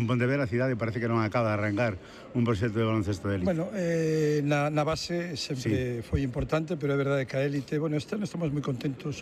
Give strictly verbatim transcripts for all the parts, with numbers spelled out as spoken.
Pontevedra a cidade parece que non acaba de arrancar un proxecto de baloncesto de élite. Bueno, eh, na, na base sempre sí. foi importante, pero é verdade que a élite, bueno, este ano estamos moi contentos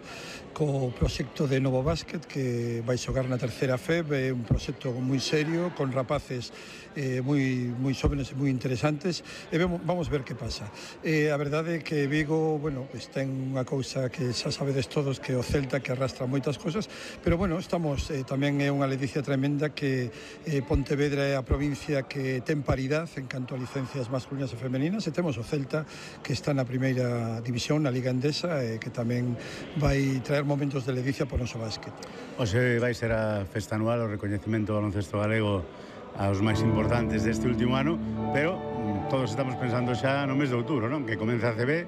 co proxecto de Novo Básquet que vai xogar na terceira F E B, é un proxecto moi serio, con rapaces eh, moi, moi xóvenes e moi interesantes, e vemos, vamos ver que pasa. Eh, a verdade é que Vigo, bueno, pues ten unha cousa que xa sabedes todos, que o Celta, que arrastra moitas cousas, pero bueno, estamos, eh, tamén é unha ledicia tremenda que eh, Pontevedra é a provincia que ten paridade en canto a licencias masculinas e femeninas, e temos o Celta que está na primeira división, na Liga Endesa, e que tamén vai traer momentos de ledicia por noso básquet. Hoxe vai ser a festa anual, o recoñecemento do baloncesto galego aos máis importantes deste último ano, pero todos estamos pensando xa no mes de outubro, non? Que comeza a C B,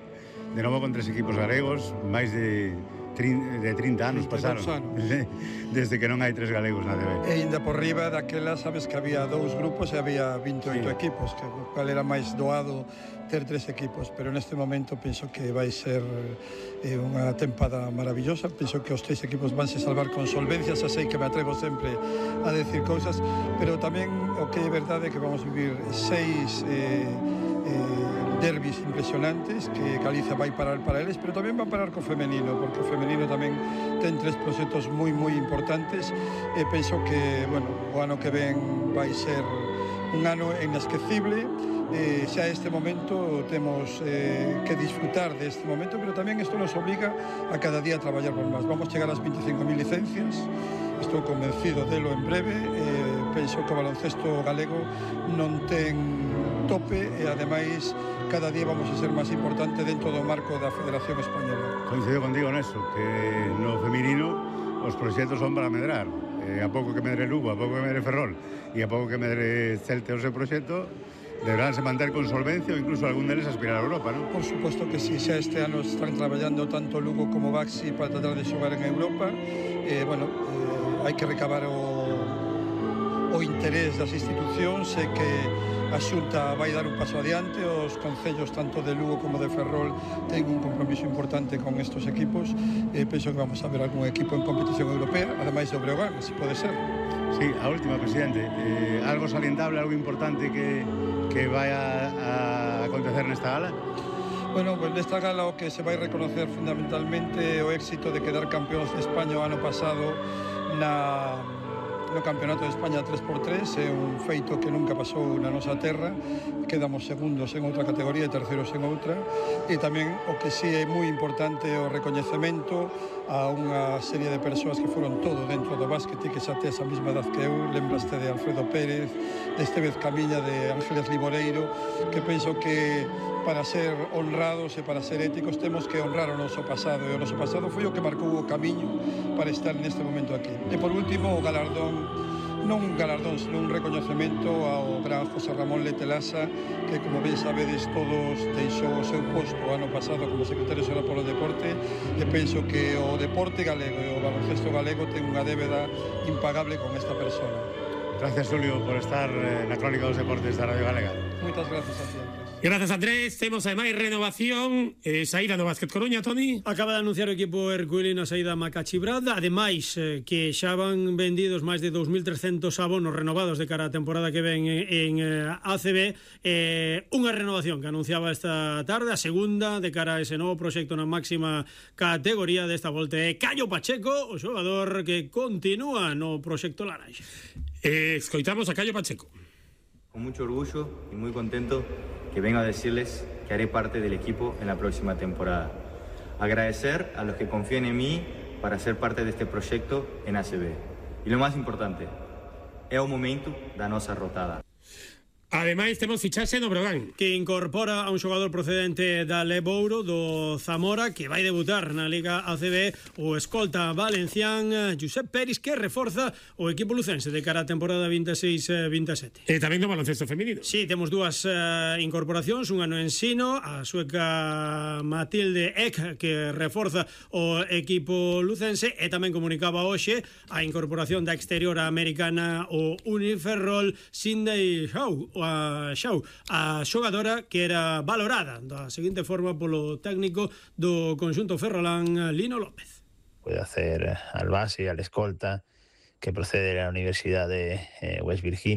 de novo con tres equipos galegos, máis de de trinta anos pasaron desde que non hai tres galegos na D B. E ainda por riba daquela, sabes que había dous grupos e había vinte e oito sí. equipos, que cal era máis doado ter tres equipos, pero neste momento penso que vai ser eh, unha tempada maravillosa. Penso que os tres equipos van se salvar con solvencia, xa sei que me atrevo sempre a decir cousas, pero tamén o que é verdade é que vamos vivir seis eh, eh, derbis impresionantes que Galiza vai parar para eles, pero tamén va a parar co femenino, porque o femenino tamén ten tres proxectos moi moi importantes, e penso que, bueno, o ano que ven vai ser un ano inesquecible. Eh, xa este momento temos eh, que disfrutar deste momento, pero tamén isto nos obliga a cada día a traballar por máis. Vamos chegar ás veinticinco mil licencias, estou convencido delo en breve, eh, penso que o baloncesto galego non ten tope, e ademais cada día vamos a ser máis importante dentro do marco da Federación Española. Coincido contigo neso, que no feminino os proxectos son para medrar. Eh, a pouco que medre Lugo, a pouco que medre Ferrol e a pouco que medre Celta o seu proxecto, deberánse manter con solvencia ou incluso algún deles aspirar a Europa, non? Por suposto que si, xa este ano están traballando tanto Lugo como Baxi para tratar de xogar en Europa. Eh, bueno, eh, hai que recabar o, o interés das institucións, e que a Xunta vai dar un paso adiante. Os concellos tanto de Lugo como de Ferrol ten un compromiso importante con estos equipos, e penso que vamos a ver algún equipo en competición europea, ademais do Breogán, se pode ser. Sí, a última, presidente, eh, algo salientable, algo importante que, que vai a, a acontecer nesta gala? Bueno, pues nesta gala o que se vai reconocer fundamentalmente o éxito de quedar campeóns de España o ano pasado na, no Campeonato de España tres por tres. É un feito que nunca pasou na nosa terra. Quedamos segundos en outra categoría e terceiros en outra. E tamén o que sí é moi importante o recoñecemento a unha serie de persoas que foron todo dentro do básquet e que xa te esa mesma edad que eu. Lembraste de Alfredo Pérez, de Estevez Camiña, de Ángeles Liboreiro, que penso que para ser honrados e para ser éticos temos que honrar o noso pasado, e o noso pasado foi o que marcou o camiño para estar neste momento aquí. E por último, o galardón, non un galardón, senón un recoñecemento ao gran José Ramón Letelasa, que, como ben sabedes todos, deixou o seu posto o ano pasado como secretario xeral polo deporte, e penso que o deporte galego e o baloncesto galego ten unha débeda impagable con esta persona. Gracias, Julio, por estar na Crónica dos Deportes da Radio Galega. Moitas gracias a ti. Grazas, Andrés. Temos ademais renovación, eh, saída do Básquet Coruña, Toni. Acaba de anunciar o equipo herculino a saída Macachi Brad. Ademais, eh, que xa van vendidos máis de dous mil trescentos abonos renovados de cara a temporada que ven en, en eh, A C B. Eh, unha renovación que anunciaba esta tarde, a segunda de cara a ese novo proxecto na máxima categoría desta volta é Caio Pacheco, o xogador que continúa no proxecto Laranxa. Eh, escoitamos a Caio Pacheco. Con mucho orgullo y muy contento que vengo a decirles que haré parte del equipo en la próxima temporada. Agradecer a los que confían en mí para ser parte de este proyecto en A C B. Y lo más importante, es un momento da nosa rotada. Ademais, temos fichaxe no Breogán, que incorpora a un xogador procedente da Lebouro, do Zamora, que vai debutar na Liga A C B, o escolta valencián Josep Peris, que reforza o equipo lucense de cara a temporada veintiséis veintisiete. E tamén no baloncesto feminino. Sí, temos dúas uh, incorporacións, unha no ensino, a sueca Matilde Eck, que reforza o equipo lucense, e tamén comunicaba hoxe a incorporación da exterior americana o Uniferrol Sindai Shaw, a Xau, a xogadora que era valorada da seguinte forma polo técnico do conxunto ferrolán, Lino López. Puede hacer al base, al escolta, que procede de la Universidad de eh, West Virginia.